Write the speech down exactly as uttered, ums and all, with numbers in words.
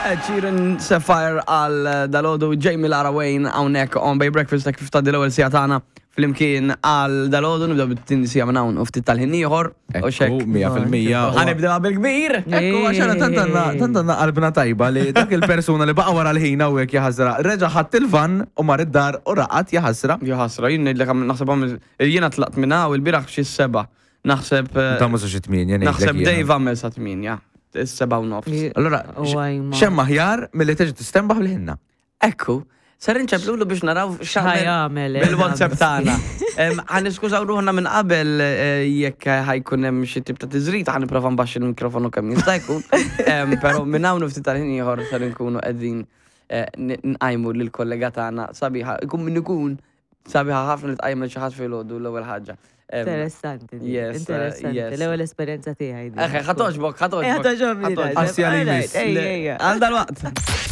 Ed Sheeran, Sapphire għal dalgħodu, Jamie Lara Wayne hawnhekk on Bay Breakfast ta' kif tgħaddi l-ewwel siegħa tagħna flimkien għal dalgħodu. Nibdew bit-tieni siegħa minn hawn u ftit tal-ħin ieħor. U xek. Ekku, mija fil-mija. Ħa nibdew bil-kbir. Ekku, għax għana tant għandna tant għandna qalbna tajba li dak il-persuna li baqa wara l-ħin hawnhekk, jaħasra, reġa' ħadd il-van u mar id-dar u raqad, jaħasra. Jaħasra, jien ngħidlek għam- naħseb għamil jiena tlaqt minn hawn il-bieraħ xi seba'. Naħseb eh, Ta' ma xi tmienja ngħidlek naħseb jiena. Dave għamel sa tmienja. Is-seba' u nofs. Allora, U għajma. x'hemm aħjar milli terġa' tistenbaħ bil-ħinna? Ekku, ser inċemplulu biex naraw x'għamel Ħajamel, eh, bil-WhatsApp tagħna. Em, Ħa niskużaw ruħna minn qabel eh, jekk ħa jkun hemm xi tip ta' tiżrita, ħa nipprova nbaxxi l-mikrofonu kemm jista' jkun. Em, Però minn hawn u ftit tal-ħin ieħor ser nkunu qegħdin eh, n- nqajmu lill-kollega tagħna sabiħa. Ikun min ikun, sabiħa ħafna li tqajjem lil xi ħadd filgħodu l-ewwel ħaġa. Em, Interessanti. Di, Yes, uh, Interessanti. yes. L-ewwel esperjenza tiegħi di. Eħe, ħa togħġbok, Eh, ħa togħġbok. ħa togħġobni. Ħa togħġbok. Assi għal jmiss. Ejja, ejja. Għal dal-waqt.